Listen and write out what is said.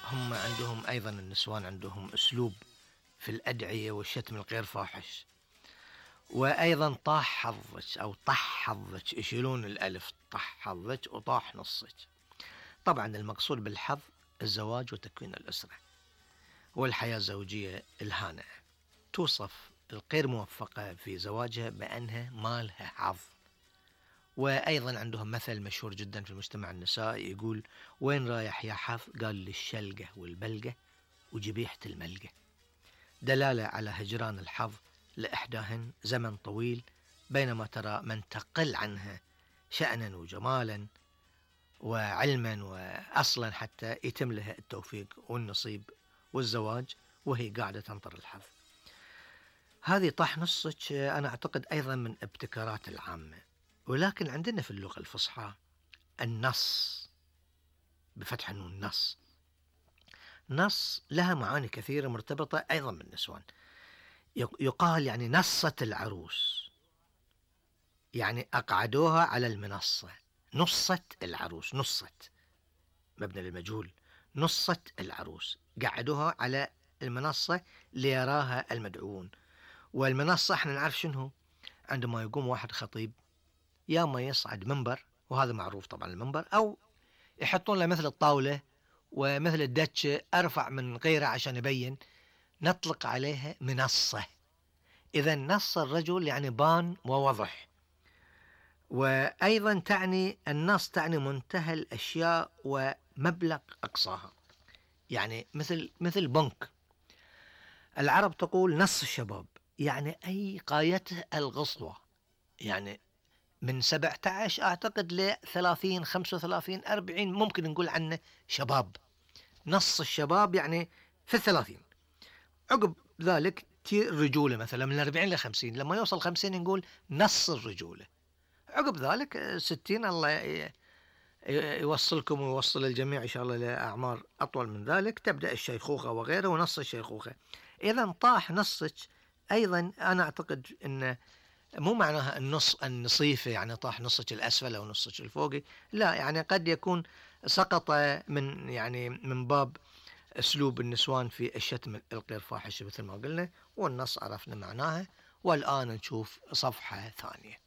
هم عندهم أيضا النسوان عندهم أسلوب في الأدعية والشتم الغير فاحش. وأيضا طاح حظك أو طح حظك، يشيلون الألف، طح حظك وطاح نصك. طبعا المقصود بالحظ الزواج وتكوين الأسرة والحياة الزوجية الهانئة. توصف الغير موفقة في زواجها بأنها ما لها حظ. وأيضا عندهم مثل مشهور جدا في المجتمع النسائي يقول: وين رايح يا حظ؟ قال لي الشلقة والبلقة وجبيحة الملقة، دلالة على هجران الحظ لإحداهن زمن طويل، بينما ترى من تقل عنها شأنا وجمالا وعلما وأصلا حتى يتم لها التوفيق والنصيب والزواج وهي قاعدة تنطر الحظ. هذه طاح نصك أنا أعتقد أيضا من ابتكارات العامة. ولكن عندنا في اللغة الفصحى النص بفتح النون، نص لها معاني كثيرة مرتبطة أيضا بالنسوان. يقال يعني نصت العروس، يعني أقعدوها على المنصة. نصت العروس، نصت مبنى للمجهول، نصت العروس، قعدوها على المنصة ليراها المدعوون. والمنصة احنا نعرف شنو، عندما يقوم واحد خطيب يا ما يصعد منبر، وهذا معروف طبعا المنبر، أو يحطون له مثل الطاولة ومثل الدتش أرفع من غيره عشان يبين، نطلق عليها منصة. إذا نص الرجل يعني بان ووضح. وأيضا تعني النص تعني منتهى الأشياء ومبلغ أقصاها، يعني مثل بنك. العرب تقول نص الشباب، يعني أي غايته القصوى، يعني من 17 أعتقد ل 30 35 40 ممكن نقول عنه شباب. نص الشباب يعني في 30. عقب ذلك الرجولة مثلا من 40 ل 50، لما يوصل 50 نقول نص الرجولة. عقب ذلك 60 الله يوصلكم ويوصل الجميع إن شاء الله لأعمار أطول من ذلك، تبدأ الشيخوخة وغيره ونص الشيخوخة. إذا طاح نصك أيضا أنا أعتقد أن مو معناها النص النصيفة يعني طاح نصك الأسفل أو نصك الفوقي، لا، يعني قد يكون سقط من باب أسلوب النسوان في الشتم الغير فاحش مثل ما قلنا، والنص عرفنا معناها. والآن نشوف صفحة ثانية.